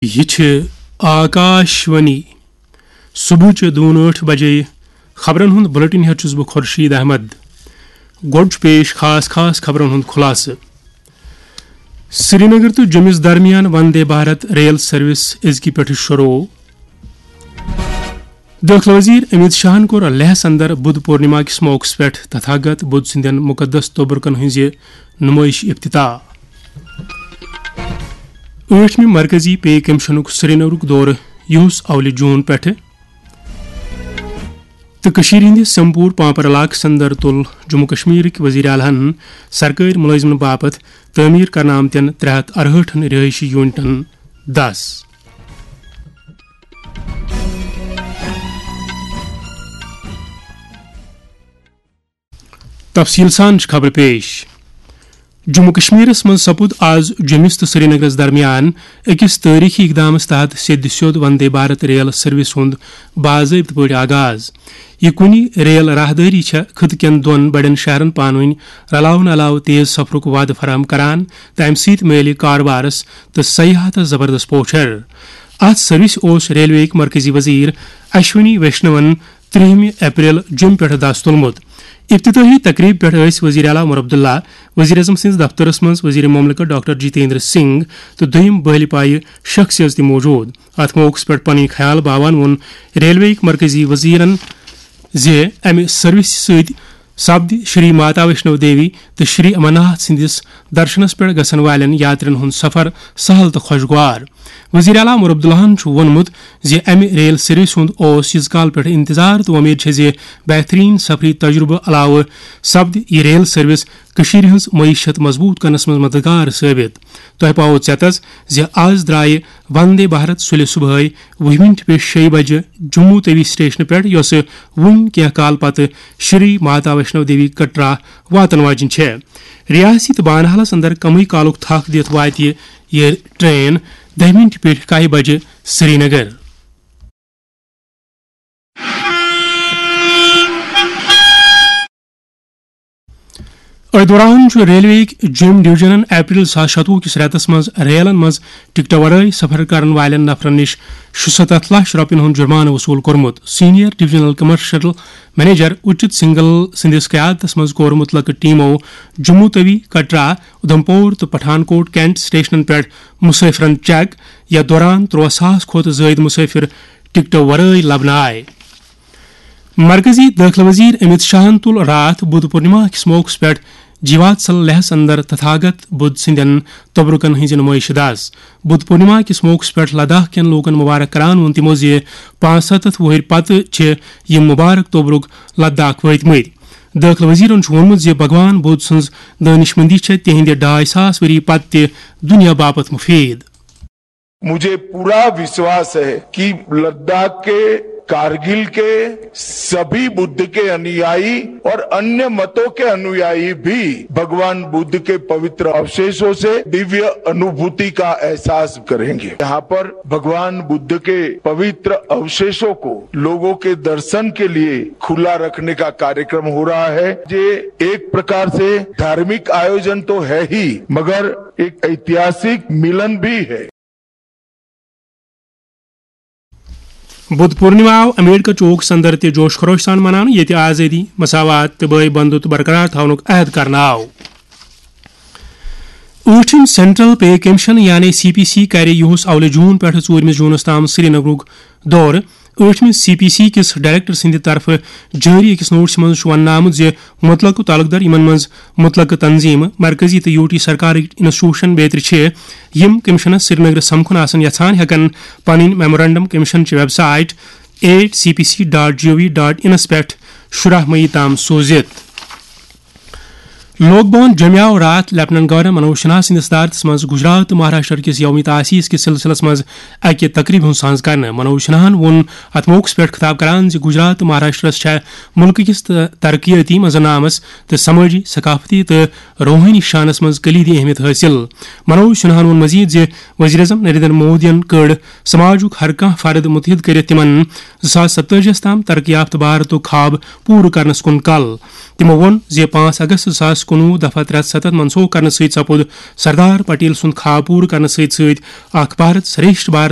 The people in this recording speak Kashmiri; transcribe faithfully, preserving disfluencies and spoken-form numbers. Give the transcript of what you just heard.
یہِ چھِ آکاش وانی۔ صبحٕچہِ دُوٚن ٲٹھ بجے خبرن ہُنٛد بُلٹن ہٮ۪تھ چھُس بہٕ خورشید احمد۔ گۄڈٕ چھُ پیش خاص خاص خبرن ہُنٛد خُلاصہٕ۔ سرینگر تہٕ جوٚمِس درمیان وندے بھارت ریل سروس أزکہِ پٮ۪ٹھٕ شروع۔ دٲخلہٕ وزیر امیت شاہن کوٚر لیہس اندر بدھ پورنما کِس موقعس پٮ۪ٹھ تتھاگت بدھ سٕنٛدٮ۪ن مقدس توبرکن ہٕنٛزِ نمٲیشہِ افتتاح۔ ٲٹھمہِ مرکزی پے کمیشنُک سرینگرُک دورٕ یُہُس اولہِ جون پٮ۪ٹھٕ۔ تہٕ کٔشیٖرِ ہٕنٛدِس سمپور پانپر علاقس اندر تُل جموں کشمیرٕکۍ وزیر اعلیٰ ہن سرکٲرۍ مُلٲزمن باپتھ تعمیٖر کرنہٕ آمتٮ۪ن ترٛےٚ ہتھ ارہٲٹھن رہٲیشی یونٹن دس۔ تفصیل سان چھِ خبرٕ پیش۔ جموں کشمیرس منٛز سپُد آز جوٚمِس تہٕ سرینگرس درمیان أکِس تٲریخی اقدامس تحت سیٚدِ سیوٚد وندے بھارت ریل سروس ہُنٛد باضٲبطہٕ پٲٹھۍ آغاز۔ یہِ کُنہِ ریل راہدٲری چھےٚ خطہٕ کٮ۪ن دۄن بڑٮ۪ن شہرن پانہٕ وٲنۍ رلاونہٕ علاوٕ تیز سفرُک وعدٕ فراہم کران تہٕ امہِ سۭتۍ میلہِ کاربارس تہٕ سیاحتس زبردست پوچھر۔ اتھ سروسہِ اوس ریلوے یٕکۍ مرکزی وزیر اشونی ویشنون ترٛہمہِ اپریل جوٚمہِ پٮ۪ٹھٕ دس تُلمُت۔ افتتاحی تقریبہِ پٮ۪ٹھ ٲسۍ وزیر اعلیٰ عمر عبداللہ، وزیر اعظم سٕنٛدِس دفترس منٛز وزیر مملکت ڈاکٹر جتیندر سنگھ تہٕ دوٚیِم بٲلہِ پایہِ شخصیژ تہِ موجود۔ اتھ موقعس پٮ۪ٹھ پنٕنۍ خیال باوان ووٚن ریلوے یٕکۍ مرکزی وزیرن زِ امہِ سروسہِ سۭتۍ سپدِ شری ماتا ویشنو دیوی تہٕ شری امرناتھ سٕنٛدِس درشنس پٮ۪ٹھ گژھن والٮ۪ن یاترین ہُنٛد سفر سہل تہٕ خۄشگوار۔ وزیر اعلیٰ عمر عبداللہن چھُ ووٚنمُت زِ امہِ ریل سروسہِ ہُنٛد اوس ییٖژ کال پٮ۪ٹھ انتظار تہٕ وۄمید چھےٚ زِ بہترین سفری تجربہٕ علاوٕ سپدِ یہِ ریل سروس کٔشیٖرِ ہٕنٛز معیشت مضبوط کرنس منٛز مددگار ثٲبت۔ تۄہہِ پاوو ژیتس زِ آز درٛایہِ وندے بھارت سُلہِ صبحٲے وُہہِ مِنٹہِ پیٚٹھۍ شیٚیہِ بجہِ جموں توی سٹیشنہٕ پٮ۪ٹھ، یۄسہٕ وُنہِ کینٛہہ کال پتہٕ شری ماتا ویشنو دیوی کٹرا واتن واجِنۍ چھےٚ۔ ریاستی تہٕ بانہالس اندر کمٕے کالُک تھکھ دِتھ واتہِ یہِ ٹرین دَہہِ مِنٹہِ پیٚٹھۍ کاہہِ بجہِ سرینگر۔ أتھۍ دوران چھُ ریلوے یٕکۍ جوٚمۍ ڈویژنن اپریل زٕ ساس شتوُہ کِس رٮ۪تس منٛز ریلن منٛز ٹکٹہٕ ورٲے سفر کرن والٮ۪ن نفرن نِش شُستتھ لچھ رۄپین ہُنٛد جُرمانہٕ وصوٗل کوٚرمُت۔ Senior divisional commercial manager Uchit Singhal سٕنٛدِس قیادتس منٛز کوٚر مُتلقہٕ ٹیمو جموں توی، کٹرا، اُدھمپور تہٕ پٹھان کوٹ کینٹ سٹیشنن پٮ۪ٹھ مسافرن چیک۔ یتھ دوران ترٛوہ ساس کھۄتہٕ زٲیِد مسافر ٹکٹو ورٲے لبنہٕ آے۔ مرکزی دٲخلہٕ وزیر امیت شاہن تُل راتھ بدھ پورنما کِس موقعس پٮ۪ٹھ جیواتسل لیہس اندر تتھاگت بدھ سٕنٛدٮ۪ن توبرکن ہٕنٛزِ نمٲیشہِ دس۔ بدھ پورنما کِس موقعس پٮ۪ٹھ لداخ کٮ۪ن لوٗکن مبارک کران ووٚن تِمو زِ پانٛژھ ہتھ وُہٕرۍ پتہٕ چھِ یِم مبارک توبرک لداخ وٲتۍ مٕتۍ۔ دٲخلہٕ وزیرن چھُ ووٚنمُت زِ بھگوان بدھ سٕنٛز دٲنِشمندی چھےٚ تِہنٛدِ ڈاے ساس ؤری پتہٕ تہِ دُنیا باپتھ مُفیٖد۔ मुझे पूरा विश्वास है कि लद्दाख के, कारगिल के सभी बुद्ध के अनुयायी और अन्य मतों के अनुयायी भी भगवान बुद्ध के पवित्र अवशेषों से दिव्य अनुभूति का एहसास करेंगे। यहाँ पर भगवान बुद्ध के पवित्र अवशेषों को लोगों के दर्शन के लिए खुला रखने का कार्यक्रम हो रहा है। ये एक प्रकार से धार्मिक आयोजन तो है ही, मगर एक ऐतिहासिक मिलन भी है। بدھ پورنما آو امبیڈکر چوک سندر تہِ جوش خروش سان مناونہٕ، ییٚتہِ آزٲدی، مساوات تہٕ بٲے بندُت برقرار تھاونُک عہد کرنہٕ آو۔ ٲٹھِم سینٹرل پے کمیشن یعنی سی پی سی کرِ یُہُس اولہِ جون پٮ۪ٹھٕ ژوٗرمِس جونَس تام سرینگرُک دورٕ۔ ٲٹھمہِ سی پی سی کِس ڈائریکٹر سٕنٛدِ طرفہٕ جٲری أکِس نوٹسہِ منٛز چھُ وننہٕ آمُت زِ مُتلقہٕ تعلق دار، یِمن منٛز مُتلقہٕ تنظیٖمہٕ، مرکزی تہٕ یوٗ ٹی سرکارٕکۍ انسٹیٹیوشن بیترِ چھِ، یِم کمیشنس سرینگرس سمکھُن آسن یژھان، ہٮ۪کن پنٕنۍ میمورنڈم کمیشن چہِ website at C P C dot G O V dot انس پٮ۪ٹھ شُراہ مئی تام سوٗزِتھ۔ لوک بھون جوٚمہِ آو راتھ لیفٹیننٹ گورنر منوج سنہا سٕنٛدِس صدارتس منٛز گجرات تہٕ مہاراشٹر کِس یوم تاسیس کِس سلسلس منٛز اکہِ تقریبہِ ہُنٛد سانز کرنہٕ۔ منوج سنہاہن ووٚن اتھ موقعس پٮ۪ٹھ خطاب کران زِ گجرات تہٕ مہاراشٹرس چھےٚ مُلکہٕ کِس تہٕ ترقیٲتی منظرنامس تہٕ سمٲجی، ثقافتی تہٕ روحٲنی شانس منٛز کلیدی اہمیت حٲصِل۔ منوج سنہاہن ووٚن مزید زِ وزیر اعظم نریندر مودیَن کٔڑ سماجُک ہر کانٛہہ فرد متحد کٔرِتھ تِمن زٕ ساس ستٲجی ہَس تام ترقی یافتہٕ بھارتُک خواب پوٗرٕ کرنس کُن کل۔ تِمو ووٚن زِ پانٛژھ اگست زٕ ساس کُنوُہ دفعہ ترٛےٚ ہتھ ستتھ منسوخ کرنہٕ سۭتۍ سپُد سردار پٹیل سُنٛد خواب پوٗرٕ کرنہٕ سۭتۍ سۭتۍ اکھ بھارت شریشٹھ بھارت